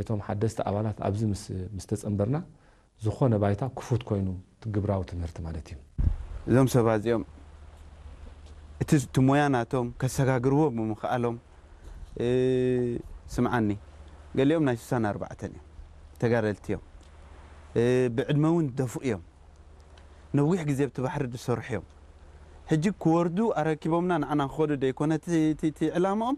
እቶም ሓደስቲ ኣባላት ኣብዚ ምስ ምስ ተጸንበርና ዝኾነ ባይታ ክፉት ኮይኑ እቲ ግብራዊ ትምህርቲ ማለት እዩ። እዞም ሰባት እዚኦም እቲ እቲ ሞያ ናቶም ከሰጋግርዎ ብምኽኣሎም እ፣ ስምዓኒ ገሊኦም ናይ ስሳን ኣርባዕተን እዮም ተጋደልቲ እዮም እ፣ ብዕድመ እውን ደፉእ እዮም ነዊሕ ግዜ ኣብቲ ባሕሪ ዝሰርሑ እዮም ሕጂ ክወርዱ ኣረኪቦምና ንዓና ክኸዱ ደይኮነ እቲ- እቲ እቲ ዕላምኦም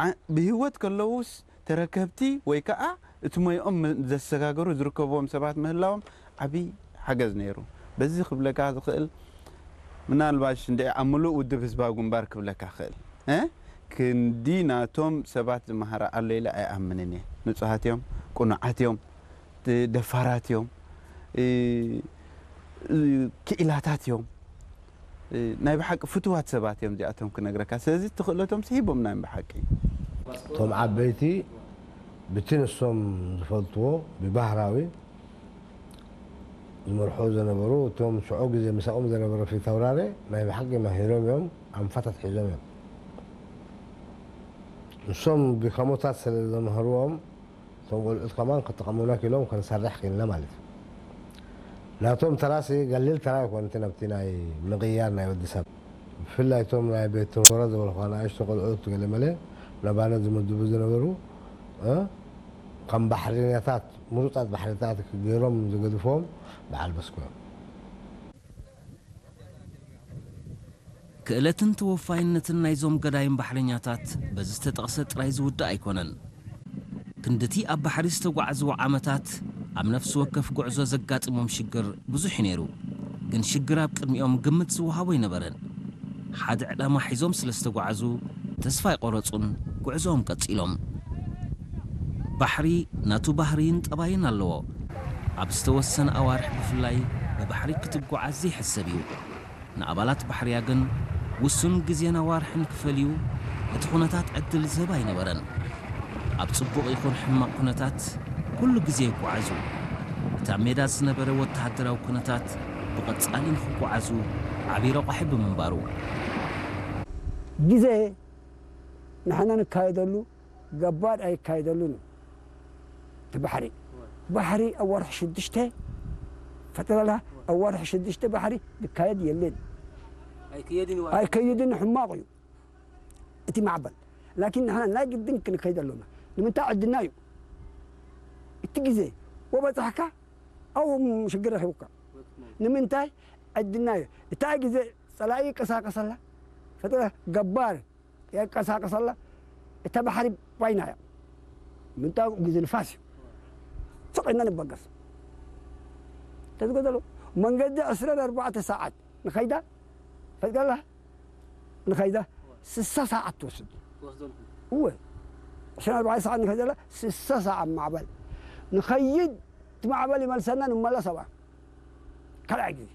ዓ- ብህይወት ከለዉስ ተረከብቲ ወይ ከዓ እቲ ሞይኦም ዘሰጋገሩ ዝርከብዎም ሰባት ምህላዎም ዓብዪ ሓገዝ ነይሩ። በዚ ክብለካ ዝኽእል ምናልባሽ እንደ ኣብ ምሉእ ውድብ ህዝባዊ ግንባር ክብለካ ክእል እ ክንዲ ናቶም ሰባት ዝመሃረ ኣሎ ኢለ ኣይኣምንን እየ። ንጹሃት እዮም፣ ቅኑዓት እዮም፣ ደፋራት እዮም፣ እ፣ እ፣ ክኢላታት እዮም። ናይ ብሓቂ ፍትዋት ሰባት እዮም እዚኣቶም ክነግረካ ስለዚ እቲ ክእለቶም ስሂቦምና እዮም ብሓቂ እቶም ዓበይቲ ብቲ ንሶም ዝፈልጥዎ ብባህራዊ ዝመርሑ ዝነበሩ እቶም ሽዑ ግዜ ምሳኦም ዝነበረ ፊታውራሪ ናይ ብሓቂ መሂሮም እዮም ኣንፋታት ሒዞም እዮም ንሶም ድካሞታት ስለ ዘምሃርዎም እቶም ቆልዑት ከማን ክጠቐሙና ክኢሎም ክንሰርሕ ክኢልና ማለት እዩ። ናቶም ተራሲ ገሊል ተራ ኣይኮን እቲ ናብቲ ናይ ምቕያር ናይ ወዲ ሰብ። ብፍላይ እቶም ናይ ቤት ትምህርት ዝበልኳ ንኣሽቱ ቆልዑት ገለመለ ናባና ዝምድቡ ዝነበሩ እ ከም ባሕርኛታት ምሩጻት ባሕርታት ገይሮም ዝገድፍዎም በዓል በስኮ እዮም። ክእለትን ተወፋይነትን ናይዞም ገዳይም ባሕረኛታት በዚ ዝተጠቕሰ ጥራይ ዝውዳእ ኣይኮነን። ክንድቲ ኣብ ባሕሪ ዝተጓዕዝዎ ዓመታት፣ ኣብ ነፍሲ ወከፍ ጉዕዞ ዘጋጥሞም ሽግር ብዙሕ እዩ ነይሩ። ግን ሽግር ኣብ ቅድሚኦም ግምት ዝወሃቦ ኣይነበረን። ሓደ ዕላማ ሒዞም ስለ ዝተጓዕዙ፣ ተስፋ ኣይቆረጹን፣ ጉዕዞኦም ቀጺሎም። ባሕሪ ናቱ ባህርይን ጠባይን ኣለዎ። ኣብ ዝተወሰነ ኣዋርሕ ብፍላይ ብባሕሪ ክትጓዓዝ ዘይሕሰብ እዩ። ንኣባላት ባሕርያ ግን ውሱን ግዜን ኣዋርሕን ክፈልዩ እቲ ኩነታት ዕድል ዝህብ ኣይነበረን። ኣብ ጽቡቕ ይኹን ሕማቕ ኩነታት ኩሉ ግዜ ይጓዓዙ። እቲ ኣብ ሜዳ ዝነበረ ወተሃደራዊ ኩነታት ብቐጻሊ ንኽጓዓዙ ዓቢ ረቋሒ ብምንባሩ። ግዜ ንሕና ንካየደሉ ገባር ኣይካየደሉን እዩ እቲ ባሕሪ። ባሕሪ ኣብ ወርሒ ሽዱሽተ ፈጠረላ ኣብ ወርሒ ሽዱሽተ ባሕሪ ዝካየድ የለን። ኣይከይድን ሕማቕ እዩ እቲ ማዕበል። ላኪን ንሕና ናይ ግድን ክንከይድ ኣሎና። ንምንታይ ዕድና እዩ እቲ ግዜ ወበጻሕካ ኣብኡ ሽግር ረኺቡካ። ንምንታይ ዕድና እዩ። እታ ግዜ ጸላኢ ይቀሳቀሰላ ፈጠረ ገባር የቀሳቅሰላ እታ ባሕሪ ባይና እያ ምንታው ግዜ ንፋስ እዩ ስቕ ኢልና ንበገስ ተዝገደሉ መንገዲ ዕስራን ኣርባዕተ ሰዓት ንኸይዳ ፈዝገላ ንኸይዳ ስሳ ሰዓት ትወስድ እወ ዕስራን ኣርባዕተ ሰዓት ንኸይደላ ስሳ ሰዓት ማዕበል ንኸይድ እቲ ማዕበል ይመልሰና ንመለስ ኣብኣ ካልኣይ ግዜ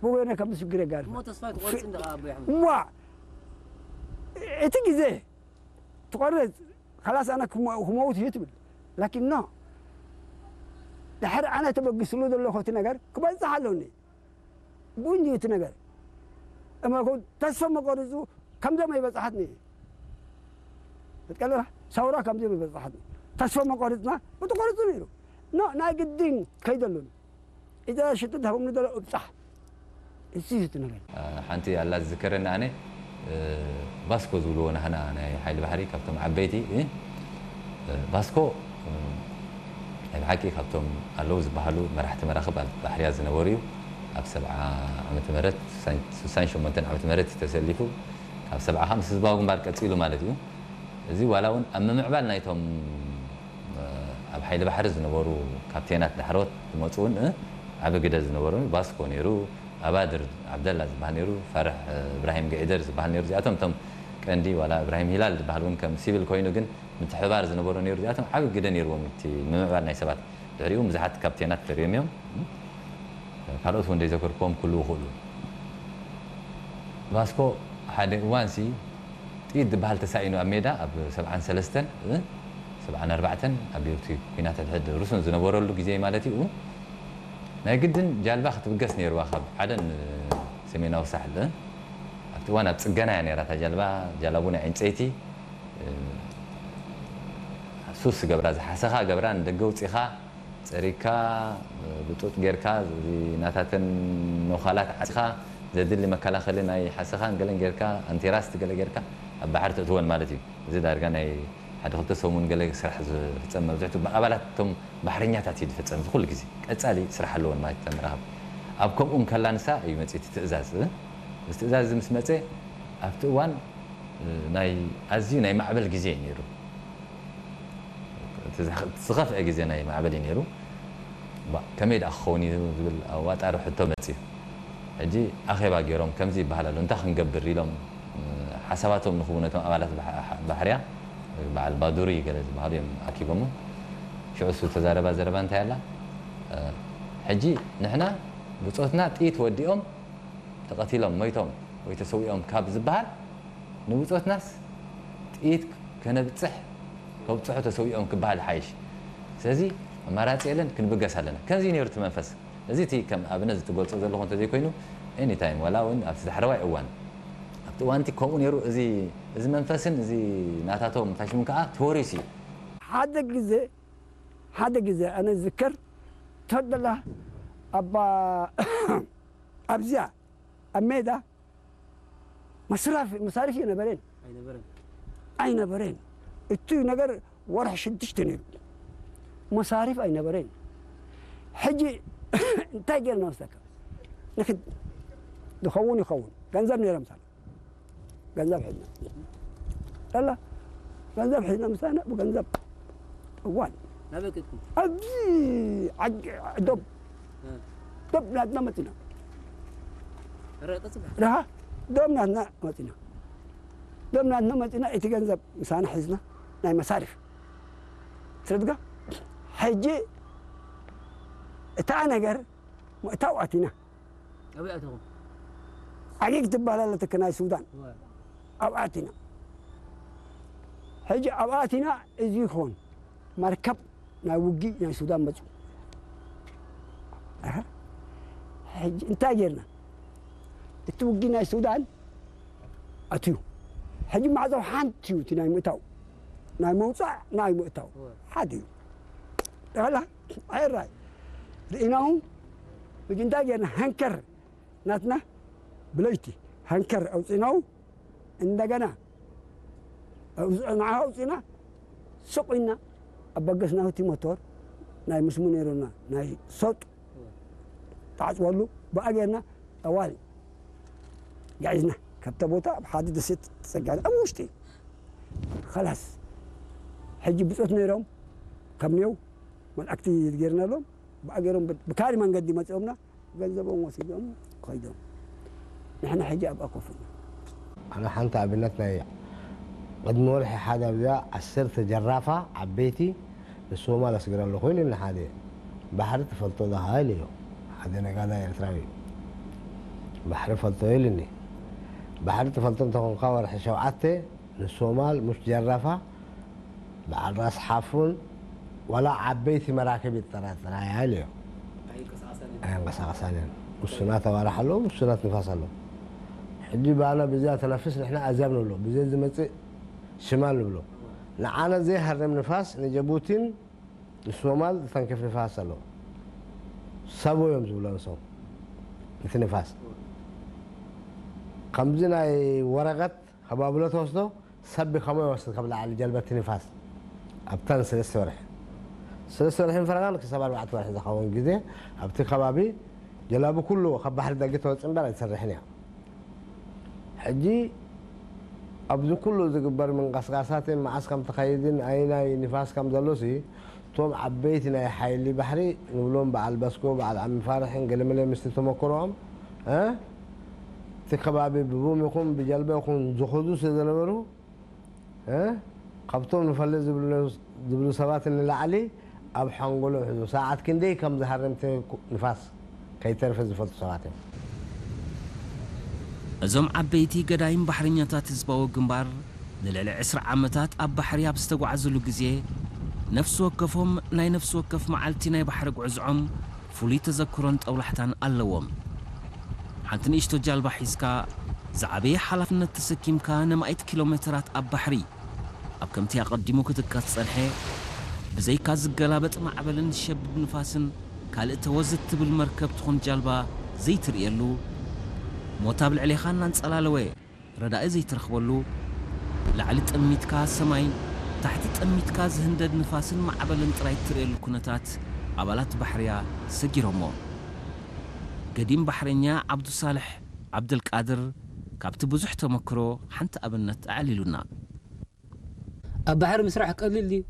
ብወይነ ከም ሽግር የጋርፍ እሞ ተስፋ ትቆርጽ እንደ ኣቦ ኣሕመድ ዋ እቲ ግዜ ትቆርጽ ካላስ ኣነ ክመውት እዩ ትብል ላኪን ኖ ድሕሪ ኣነ ተበግስሉ ዘለኹ እቲ ነገር ክበጽሕ ኣለውኒ ብኡ እንዲዩ እቲ ነገር እመኮ ተስፋ መቆርጹ ከምዞም ኣይበጽሓትኒ ትቀለላ ሰውራ ከምዞም ኣይበጽሓትኒ ተስፋ መቆርጽና ብትቆርጹ ነይሩ ኖ ናይ ግድን ከይደሉን እዛ ሽጥት ሃቦም ንደሎ እብጻሕ እዚ እዩ እቲ ነገር ሓንቲ ኣላ ዝዝከረኒ ኣነ ባስኮ ዝብልዎ ናህና ናይ ሓይሊ ባሕሪ ካብቶም ዓበይቲ ባስኮ ናይ ብሓቂ ካብቶም ኣለዉ ዝበሃሉ መራሕቲ መራኽብ ኣብ ባሕርያ ዝነበሩ እዩ ኣብ ሰብዓ ዓመተ ምህረት ስሳን ሸሞንተን ዓመተ ምህረት ተሰሊፉ ካብ ሰብዓ ምስ ህዝባዊ ግንባር ቀጺሉ ማለት እዩ እዚ ዋላ እውን ኣብ ምምዕባል ናይቶም ኣብ ሓይሊ ባሕሪ ዝነበሩ ካፕቴናት ዳሕሮት ዝመፁ እውን ዓቢ ግደ ዝነበሩ ባስኮ ነይሩ፣ ኣባድር ዓብደላ ዝበሃል ነይሩ፣ ፋራሕ እብራሂም ገዒደር ዝበሃል ነይሩ። እዚኣቶም እቶም ቀንዲ ዋላ እብራሂም ሂላል ዝበሃል እውን ከም ሲቪል ኮይኑ ግን ምትሕብባር ዝነበሮ ነይሩ። እዚኣቶም ዓቢ ግደ ነይርዎም እቲ ንምምዕባል ናይ ሰባት። ድሕሪኡ ብዙሓት ካፕቴናት ተርዮም እዮም። ካልኦት እውን ዘይዘከርክዎም ክህልዉ ይኽእሉ። ባስኮ ሓደ እዋንሲ ጥይት ዝበሃል ተሳኢኑ ኣብ ሜዳ ኣብ ሰብዓን ሰለስተን ሰብዓን ኣርባዕተን ኣብ እቲ ኲናት ሕድሕድ ርሱን ዝነበረሉ ግዜ ማለት እዩ ናይ ግድን ጃልባ ክትብገስ ነይርዋ ካብ ዓደን ሰሜናዊ ሳሕል ኣብቲ እዋን ኣብ ፅገና እያ ነይራ እታ ጃልባ ጃላቡ ናይ ዕንፀይቲ ሱስ ገብራ፣ ዝሓሰኻ ገብራ ንደገ ውፂኻ፣ ፀሪግካ፣ ብጡጥ ጌርካ፣ እዚ ናታተን ነዃላት ዓፂኻ፣ ዘድሊ መከላኸሊ ናይ ሓሰኻን ገለን ጌርካ፣ ኣንቲራስት ገለ ጌርካ፣ ኣብ ባሕሪ ተእትወን ማለት እዩ። እዚ ዳርጋ ናይ ሓደ ክልተ ሰሙን ገለ ስራሕ ዝፍፀም፣ መብዝሕቱ ብኣባላት እቶም ባሕረኛታት እዩ ዝፍፀም። እዚ ኩሉ ግዜ ቀፃሊ ስራሕ ኣለወን ማለት እተን መራኽብ። ኣብ ከምኡ እንከላ ንሳ እዩ መፂኡ እቲ ትእዛዝ። እዚ ትእዛዝ እዚ ምስ መፀ፣ ኣብቲ እዋን፣ እ፣ ናይ ኣዝዩ ናይ ማዕበል ግዜ እዩ ነይሩ። እቲ ዝኸ-፣ እቲ ዝኸፍአ ግዜ ናይ ማዕበል እዩ ነይሩ። ባ-፣ ከመይ ደኣ ክኸውን እዩ ዝብል ኣዋጣሪ ሕቶ መጺኡ። ሕጂ ኣኼባ ገይሮም ከምዚ ይበሃል ኣሎ፣ እንታይ ክንገብር ኢሎም፣ እ፣ ሓሳባቶም ንኽህቡ ነቶም ኣባላት ባሕ-፣ ባሕርያ፣ በዓል ባዱሪ ገለ ዝበሃሉ እዮም ኣኪቦሞ። ሽዑ እሱ ተዛረባ ዘረባ እንታይ ኣላ? እ፣ ሕጂ ንሕና ብጾትና ጥይት ወዲኦም ተቐቲሎም፣ ሞይቶም ወይ ተሰዊኦም ካብ ዝበሃል፣ ንብጾትናስ ጥይት ከነብጽሕ፣ ከብጽሑ ተሰዊኦም ክበሃል ይሓይሽ። ስለዚ ኣማራጺ የለን፣ ክንብገስ ኣለና። ከምዚ ነይሩ እቲ መንፈስ። እዚ እቲ ከም ኣብነት ዝትገልጾ ዘለኹ እንተዘይኮይኑ፣ ኤኒታይም፣ ዋላ እውን ኣብቲ ዳሕረዋይ እዋን፣ ኣብቲ እዋን እቲ ከምኡ ነይሩ። እዚ፣ እዚ መንፈስን እዚ ናታቶም ፋሽምን ከኣ ተወሪሱ እዩ። ሓደ ግዜ፣ ሓደ ግዜ ኣነ ዝዝከር፣ ተደላ ኣባ ኣብዚኣ ኣብ ሜዳ መስራፍ-፣ መሳርፍ የነበረን። ኣይነበረን። ኣይነበረን። እቲ ነገር ወርሒ ሽዱሽተ ነይሩ። መሳርፍ ኣይነበረን። ሕጂ እንታይ ጌርና መስለካ? ንኽድ-፣ ዝኸውን ይኸውን። ገንዘብ ነይሮም ሳላ። ገንዘብ ሒዝና። ላላ፣ ገንዘብ ሒዝና ምሳና ብገንዘብ እዋን። ናበይ ከድኩም? ኣብዚ ዓዲ ዶብ። እ። ዶብ ናትና መጺና። ኧረ፣ ቀጽል። ደሃ፣ ዶብ ናትና መጺና። ዶብ ናትና መጺና፣ እቲ ገንዘብ ምሳና ሒዝና፣ ናይ መሳርፍ። ትረድጋ? ሕጂ እታ ነገር ምእታው ኣቲና። ኣበይ ኣተኹም? ዓጊግ ትበሃል ኣለትክ ናይ ሱዳን። እወ። ኣብኣ ኣቲና። ሕጂ ኣብኣ ኣቲና እዚ ይኾን መርከብ ናይ ውጊ ናይ ሱዳን መጹ። ኣሀ። ሕጂ እንታይ ጌርና? እቲ ውጊ ናይ ሱዳን ኣትዩ። ሕጂ ማዕጾ ሓንቲ እዩ እቲ ናይ ምእታው። ናይ መውጻእ ናይ ምእታው። እወ። ሓደ እዩ። ጠቕላላ ኣይራይ። ርኢናሁ። ሕጂ እንታይ ጌርና? ሃንከር ናትና ብለይቲ ሃንከር ኣውጺናው፣ እንደገና ኣውጽ-፣ ንዓ ኣውጺና፣ ስቕ ኢልና ኣበገስናሁ። እቲ ሞቶር ናይ ምስሙ ነይሩና፣ ናይ ሶጥ ተዓጽወሉ፣ ብኣ ጌርና ጠዋል ጋዒዝና። ካብታ ቦታ ኣብ ሓደ ደሴት ተጸጋዕና፣ ኣብ ውሽጢ። ኸላስ፣ ሕጂ ብጾት ነይሮም፣ ካብ ኔው መልኣክቲ ጌርናሎም፣ ብኣ ጌሮም ብ-፣ ብካሊ መንገዲ መጺኦምና። ገንዘቦም ወሲዶም ከይዶም። ንሕና ሕጂ ኣብኣ ኮፍ ኢልና። ኣነ ሓንቲ ኣብነት ናይ ቅድሚ ወርሒ ሓደ ኣብዚኣ ዓሰርተ ጀራፋ ዓበይቲ ንሶማል ኣስግረ ኣለኹ ኢሉኒ ሓደ። ባሕሪ ትፈልጦ ዶ ኢለዮ። ሓደ ነጋዳይ ኤርትራዊ። ባሕሪ ፈልጦ ኢሉኒ። ባሕሪ ትፈልጦ እንተኾንካ ወርሒ ሸውዓተ ንሶማል ምስ ጀራፋ በዓል ራስ ሓፉን ዋላ ዓበይቲ መራክብ ይጠራጠራ እያ ኢለዮ። ኣይንቀሳቐሳን እየን። ኣየንቀሳቐሳን እየን። ውሱናት ኣዋርሕ ኣለዎ፣ ውሱናት ንፋስ ኣለዎ። ሕጂ ባና ብዚኣ ተነፍስ፣ ንሕና ኣዝያብ ንብሎ፣ ብዘይ ዝመጽእ ሽማል ንብሎ። ንዓና ዘይሃርም ንፋስ ንጀቡቲን ንሶማል ዝተንክፍ ንፋስ ኣለዎ። ሳቦ እዮም ዝብሎ ንሶም። እቲ ንፋስ ከምዚ ናይ ወረቐት ከባብሎ ተወስዶ፣ ሰብ ከመይ ይወስድ ካብ ላዕሊ ጀልባ እቲ ንፋስ ኣብተን ሰለስተ ወርሒ፣ ሰለስተ ወርሒ ፈረቓን ክሳብ ኣርባዕተ ወርሒ ዝኸውን ግዜ ኣብቲ ከባቢ ጀላቡ ኩሉ ካብ ባሕሪ ደገ ተወጽእ እምበር ኣይትሰርሕን እያ። ሕጂ ኣብዚ ኩሉ ዝግበር ምንቅስቃሳትን መዓስ ከም ትኸይድን ኣይናይ ንፋስ ከም ዘሎሲ እቶም ዓበይቲ ናይ ሓይሊ ባሕሪ ንብሎም በዓል በስኮ፣ በዓል ዓሚ ፋርሕን ገለመለ ምስቲ ተመክሮኦም፣ እ፣ እቲ ከባቢ ብቡም ይኹን ብጀልባ ይኹን ዝኸዱ ስለ ዝነበሩ፣ እ፣ ካብቶም ንፈልጥ ዝብሉ፣ ዝብሉ ሰባት ንላዕሊ ኣብ ሓንጎሎም ሕዙ። ሰዓት ክንደይ ከም ዝሃርም እቲ ንፋስ ከይተርፈ ዝፈልጡ ሰባት እዮም። እዞም ዓበይቲ ገዳይም ባሕረኛታት ህዝባዊ ግንባር ንልዕሊ ዕስራ ዓመታት ኣብ ባሕሪ ኣብ ዝተጓዕዙሉ ግዜ፣ ነፍሲ ወከፎም ናይ ነፍሲ ወከፍ መዓልቲ ናይ ባሕሪ ጉዕዝዖም ፍሉይ ተዘክሮን ጠውላሕታን ኣለዎም። ሓንቲ ንእሽቶ ጃልባ ሒዝካ፣ ዝዓበየ ሓላፍነት ተሰኪምካ ነማኢት ኪሎ ሜተራት ኣብ ባሕሪ፣ ኣብ ከምቲ ኣቐዲሙ ክጥቀስ ዝጸንሐ ብዘይካ ዝገላበጥ ማዕበልን ዝሸብብ ንፋስን ካልእ ተወዝ እትብል መርከብ ትኹን ጃልባ ዘይትርእየሉ፣ ሞት ኣብ ልዕሌኻ እናንጸላለወ ረዳኢ ዘይትረኽበሉ፣ ላዕሊ ጠሚትካ ሰማይ፣ ታሕቲ ጠሚትካ ዝህንደድ ንፋስን ማዕበልን ጥራይ እትርእየሉ ኩነታት ኣባላት ባሕርያ ሰጊሮሞ። ገዲም ባሕረኛ ዓብዱሳልሕ ዓብደልቃድር ካብቲ ብዙሕ ተመክሮ ሓንቲ ኣብነት ኣዕሊሉና። ኣብ ባሕሪ ምስራሕ ቀሊል ድዩ?